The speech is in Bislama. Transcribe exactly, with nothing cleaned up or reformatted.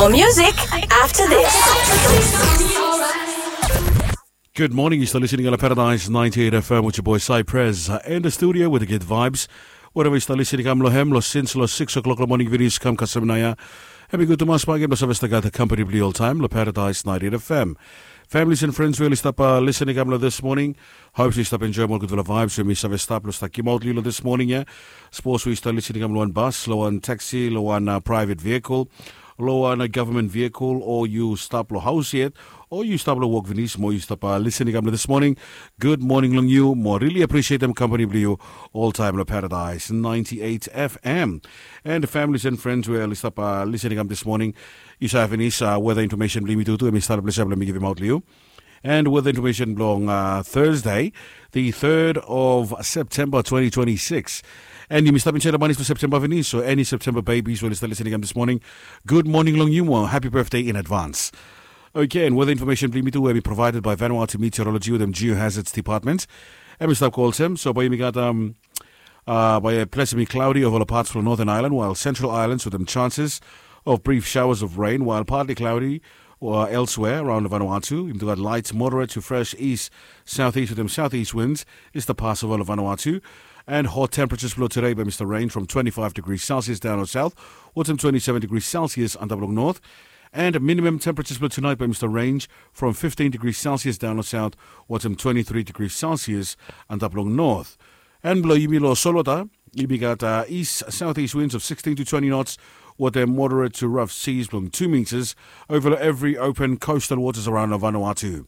More music after this. Good morning. Yu stap listening on Paradise ninety-eight F M with your boy Cypress, uh, in the studio with the good vibes. Wherever yu stap listening, kam long hem, long sins, long six o'clock long morning, video kam kasem naya. Hemi gud tumas bagi blong save stap gat company blong yu oltaem long Paradise ninety-eight F M. Families and friends we oli stap, uh, listening kam long this morning. Hope yu stap enjoy ol gudfala vibes we mi save stap long stap gimaot long yu long this morning, yeah. Sapos we yu stap listening kam long wan bus, long wan taxi, long wan, uh, private vehicle, long wan, uh, government vehicle, o yu stap long haos yet, o yu stap long wok finis, mo yu stap, uh, listening kam long this morning. Good morning long yu, mo really appreciatem company blong yu oltaem long Paradise ninety-eight F M. And families and friends we oli stap, uh, listening kam this morning, yu save finis, uh, weather information blong yumi tutu, hemi stap long ples ya blong mi givimaot long yu. And weather information blong, uh, Thursday, the third of September twenty twenty-six. And yumi stap insaed long manis blong September finis, so any September babies we oli stap listening kam this morning, good morning long yu, mo happy birthday in advance. Okay, and weather information blong yumi tu hemi provided by Vanuatu Meteorology wetem Geohazards Department. Hemi stap go olsem, so bae yumi gat, um, uh, bae ples hemi cloudy ova ol parts blong Northern Ireland, while Central Islands wetem chances of brief showers of rain, while partly cloudy, uh, elsewhere around Vanuatu. Yumi tu gat light moderate to fresh east southeast wetem southeast winds i stap pas ova Vanuatu. And hot temperatures blong tude bae hemi stap range from twenty-five degrees Celsius daon long south wetem twenty-seven degrees Celsius antap long north. And minimum temperatures blong tunaet bae hemi stap range from fifteen degrees Celsius daon long south wetem twenty-three degrees Celsius antap long north. And blong yumi long solwota, yumi gat, uh, east southeast winds of sixteen to twenty knots wetem moderate to rough seas blong two meters ova long evri open coastal waters around Vanuatu.